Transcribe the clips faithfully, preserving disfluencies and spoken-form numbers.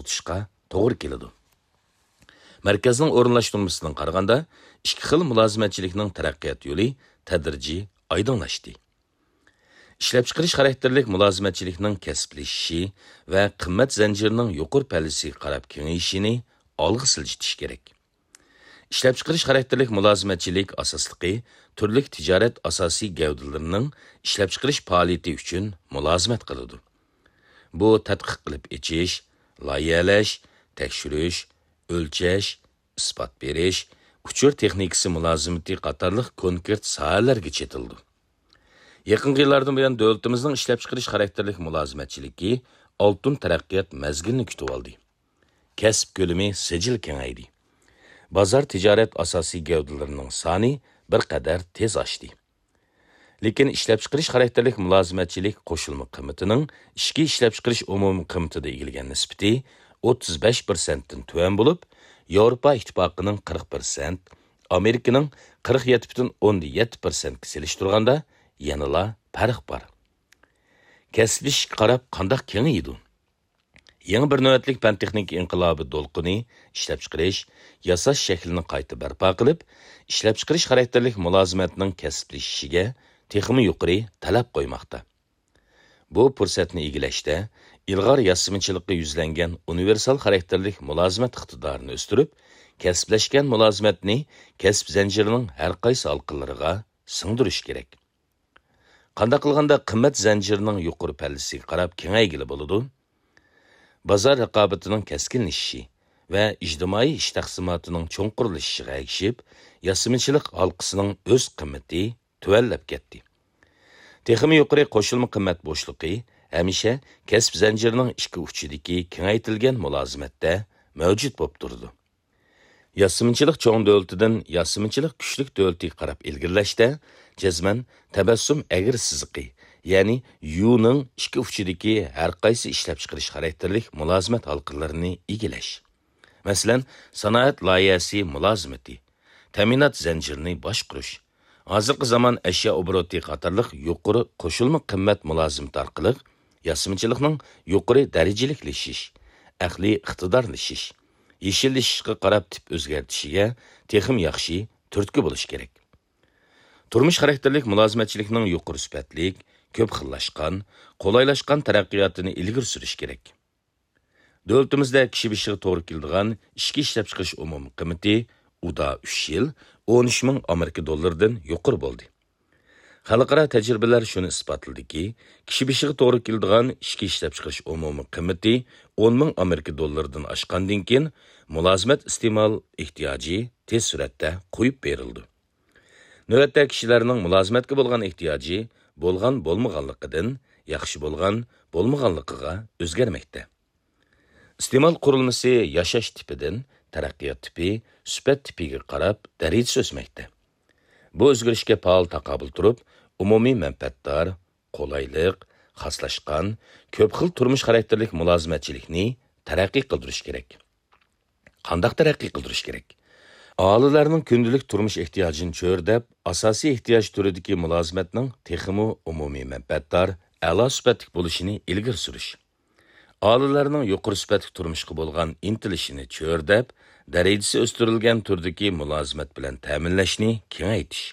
تۇتۇشقا توغرا كېلىدۇ. مەركەزنىڭ ئورۇنلاشتۇرمىسىدىن قارىغاندا، ئىككى خىل مۇلازىمەتچىلىكنىڭ تەرەققىيات يولى تەدرىجىي ئايدىڭلاشتى. ئىشلەپچىقىرىش خاراكتېرلىك مۇلازىمەتچىلىكنىڭ كەسىپلىشىشى ۋە قىممەت زەنجىرىنىڭ يۇقىرى پەللىسىگە قاراپ كېڭىيىشىنى ئالغا سىلجىتىش كېرەك. ئىشلەپچىقىرىش خاراكتېرلىك مۇلازىمەتچىلىك ئاساسلىقى تۈرلۈك تىجارەت ئاساسىي گەۋدىلىرىنىڭ ئىشلەپچىقىرىش پائالىيىتى ئۈچۈن مۇلازىمەت قىلىدۇ. بۇ تەتقىق قىلىپ ئېچىش، لايىھەلەش، تەكشۈرۈش، ئۆلچەش، ئىسپات بېرىش، ئۇچۇر تېخنىكىسى مۇلازىمىتى قاتارلىق كونكرېت ساھەلەرگە چېتىلىدۇ. يېقىنقى يىللاردىن بۇيان، دۆلىتىمىزنىڭ ئىشلەپچىقىرىش خاراكتېرلىك مۇلازىمەتچىلىكى ئالتۇن تەرەققىيات مەزگىلىنى كۈتۈۋالدى. كەسىپ كۆلىمى سىجىل كېڭەيدى. بازار تىجارەت ئاساسىي گەۋدىلىرىنىڭ سانى بىر قەدەر تېز ئاشتى. لېكىن ئىشلەپچىقىرىش خاراكتېرلىك مۇلازىمەتچىلىك قوشۇلما قىممىتىنىڭ ئىچكى ئىشلەپچىقىرىش ئومۇمىي قىممىتىدا ئىگىلىگەن نىسبىتى ئوتتۇز بەش پىرسەنتتىن تۆۋەن بولۇپ، ياۋروپا ئىتتىپاقىنىڭ قىرىق پىرسەنت، ئامېرىكىنىڭ قىرىق يەتتە پۈتۈن ئوندىن يەتتە پىرسەنتكە سېلىشتۇرغاندا يەنىلا پەرق بار. كەسىپلىشىشكە قاراپ قانداق كېڭىيىدۇ؟ يېڭى بىر نۆۋەتلىك پەن-تېخنىكا ئىنقىلابى دولقۇنى ئىشلەپچىقىرىش، ياساش شەكلىنى قايتا بەرپا قىلىپ، ئىشلەپچىقىرىش خاراكتېرلىك مۇلازىمەتنىڭ كەسىپلىشىشىگە تېخىمۇ يۇقىرى تەلەپ قويماقتا. بۇ پۇرسەتنى ئىگىلەشتە، ئىلغار ياسىمىچىلىققا يۈزلەنگەن ئۇنىۋېرسال خاراكتېرلىك مۇلازىمەت ئىقتىدارىنى ئۆستۈرۈپ، كەسىپلەشكەن مۇلازىمەتنى كەسىپ زەنجىرىنىڭ ھەر قايسى ھالقىلىرىغا سىڭدۈرۈش كېرەك. قانداق قىلغاندا قىممەت زەنجىرىنىڭ يۇقىرى پەللىسىگە قاراپ كېڭەيگىلى بولىدۇ؟ بازار رىقابىتىنىڭ كەسكىنلىشىشى ۋە ئىجتىمائىي ئىش تەقسىماتىنىڭ چوڭقۇرلىشىشىغا ئەگىشىپ، ياسىمىچىلىق ھالقىسىنىڭ ئۆز قىممىتى تۆۋەنلەپ كەتتى. تېخىمۇ يۇقىرى قوشۇلما قىممەت بوشلۇقى ھەمىشە كەسىپ زەنجىرىنىڭ ئىككى ئۇچىدىكى كېڭەيتىلگەن مۇلازىمەتتە مەۋجۇت بولۇپ تۇرىدۇ. ياسىمىچىلىق چوڭ دۆلىتىدىن ياسىمىچىلىق كۈچلۈك دۆلىتىگە قاراپ ئىلگىرىلەشتە، جەزمەن تەبەسسۇم ئەگرى سىزىقى، يەنى يۇنىڭ ئىككى ئۇچىدىكى ھەر قايسى ئىشلەپچىقىرىش خاراكتېرلىك مۇلازىمەت ھالقىلىرىنى ئىگىلەش. مەسىلەن، سانائەت لايىھەسى مۇلازىمىتى، تەمىنات زەنجىرىنى باشقۇرۇش، ھازىرقى زامان ئەشيا ئوبوروتى قاتارلىق يۇقىرى قوشۇلما قىممەت مۇلازىمىتى ئارقىلىق ياسىمىچىلىقنىڭ يۇقىرى دەرىجىلىكلىشىش، ئەقلىي ئىقتىدارلىشىش، يېشىللىشىشقا قاراپ تىپ ئۆزگەرتىشىگە تېخىمۇ ياخشى تۈرتكە بولۇش كېرەك. تۇرمۇش خاراكتېرلىك مۇلازىمەتچىلىكنىڭ يۇقىرى سۈپەتلىك، كۆپ خىللاشقان، قولايلاشقان تەرەققىياتىنى ئىلگىرى سۈرۈش كېرەك. دۆلىتىمىزدە كىشى بېشىغا توغرا كېلىدىغان ئىچكى ئىشلەپچىقىرىش ئومۇمىي قىممىتى ئۇدا ئۈچ يىل ئون ئۈچ مىڭ ئامېرىكا دوللىرىدىن يۇقىرى بولدى. خەلقئارا تەجرىبىلەر شۇنى ئىسپاتلىدىكى، كىشى بېشىغا توغرا كېلىدىغان ئىچكى ئىشلەپچىقىرىش ئومۇمىي قىممىتى ئون مىڭ ئامېرىكا دوللىرىدىن ئاشقاندىن كېيىن، مۇلازىمەت ئىستېمال ئېھتىياجى تېز سۈرئەتتە قويۇپ بېرىلىدۇ. نۆۋەتتە كىشىلەرنىڭ مۇلازىمەتكە بولغان ئېھتىياجى بولغان بولمىغانلىقىدىن ياخشى بولغان بولمىغانلىقىغا ئۆزگەرمەكتە. ئىستېمال قۇرۇلمىسى ياشاش تىپىدىن تەرەققىيات تىپى، سۈپەت تىپىگە قاراپ دەرىجىسى ئۆسمەكتە. بۇ ئۆزگىرىشكە پائال تاقابىل تۇرۇپ، ئومۇمىي مەنپەئەتدار، قولايلىق، خاسلاشقان، كۆپ خىل تۇرمۇش خاراكتېرلىك مۇلازىمەتچىلىكنى تەرەققىي قىلدۇرۇش كېرەك. قانداق تەرەققىي قىلدۇرۇش كېرەك؟ ئاھالىلەرنىڭ كۈندىلىك تۇرمۇش ئېھتىياجىنى چۆرىدەپ، ئاساسىي ئېھتىياج تۈرىدىكى مۇلازىمەتنىڭ تېخىمۇ ئومۇمىي مەنپەئەتدار، ئەلا سۈپەتلىك بولۇشىنى ئىلگىرى سۈرۈش. ئاھالىلەرنىڭ يۇقىرى سۈپەتلىك تۇرمۇشقا بولغان ئىنتىلىشىنى چۆرىدەپ، دەرىجىسى ئۆستۈرۈلگەن تۈردىكى مۇلازىمەت بىلەن تەمىنلەشنى كېڭەيتىش.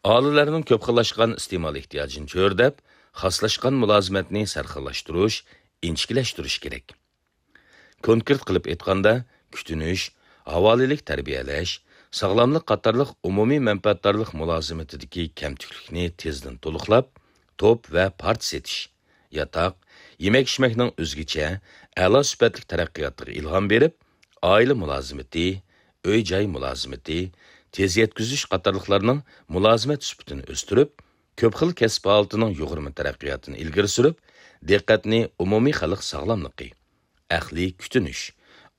ئاھالىلەرنىڭ كۆپ خىللاشقان ئىستېمال ئېھتىياجىنى چۆرىدەپ، خاسلاشقان مۇلازىمەتنى سەرخىللاشتۇرۇش، ئىنچىكىلەشتۈرۈش كېرەك. كونكرېت قىلىپ ئېيتقاندا، كۈتۈنۈش، ھاۋالىلىك تەربىيەلەش، ساغلاملىق قاتارلىق ئومۇمىي مەنپەئەتدارلىق مۇلازىمىتىدىكى كەمتۈكلۈكنى تېزدىن تولۇقلاپ، توپ ۋە پارچە سېتىش، ياتاق، يېمەك-ئىچمەكنىڭ ئۆزگىچە، ئەلا سۈپەتلىك تەرەققىياتىغا ئىلھام بېرىپ، ئائىلە مۇلازىمىتى، ئۆي-جاي مۇلازىمىتى، تېز يەتكۈزۈش قاتارلىقلارنىڭ مۇلازىمەت سۈپىتىنى ئۆستۈرۈپ، كۆپ خىل كەسىپ ھالىتىنىڭ يۇغۇرما تەرەققىياتىنى ئىلگىرى سۈرۈپ، دىققەتنى ئومۇمىي خەلق ساغلاملىقى، ئەقلىي كۈتۈنۈش،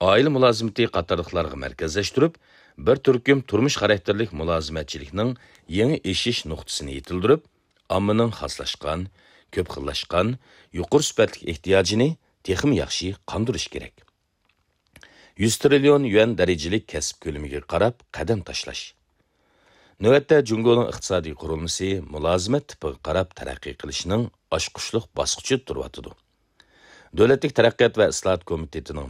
ئائىلە مۇلازىمىتى قاتارلىقلارغا مەركەزلەشتۈرۈپ، بىر تۈركۈم تۇرمۇش خاراكتېرلىك مۇلازىمەتچىلىكنىڭ يېڭى ئېشىش نۇقتىسىنى يېتىلدۈرۈپ، ئاممىنىڭ خاسلاشقان، كۆپ خىللاشقان، يۇقىرى سۈپەتلىك ئېھتىياجىنى تېخىمۇ ياخشى قاندۇرۇش كېرەك. يۈز تىرىليون يۈەن دەرىجىلىك كەسىپ كۆلىمىگە قاراپ قەدەم تاشلاش. نۆۋەتتە جۇڭگونىڭ ئىقتىسادىي قۇرۇلمىسى مۇلازىمەت تىپىغا قاراپ تەرەققىي قىلىشنىڭ ئاچقۇچلۇق باسقۇچىدا تۇرۇۋاتىدۇ. دۆلەتلىك تەرەققىيات ۋە ئىسلاھات كومىتېتىنىڭ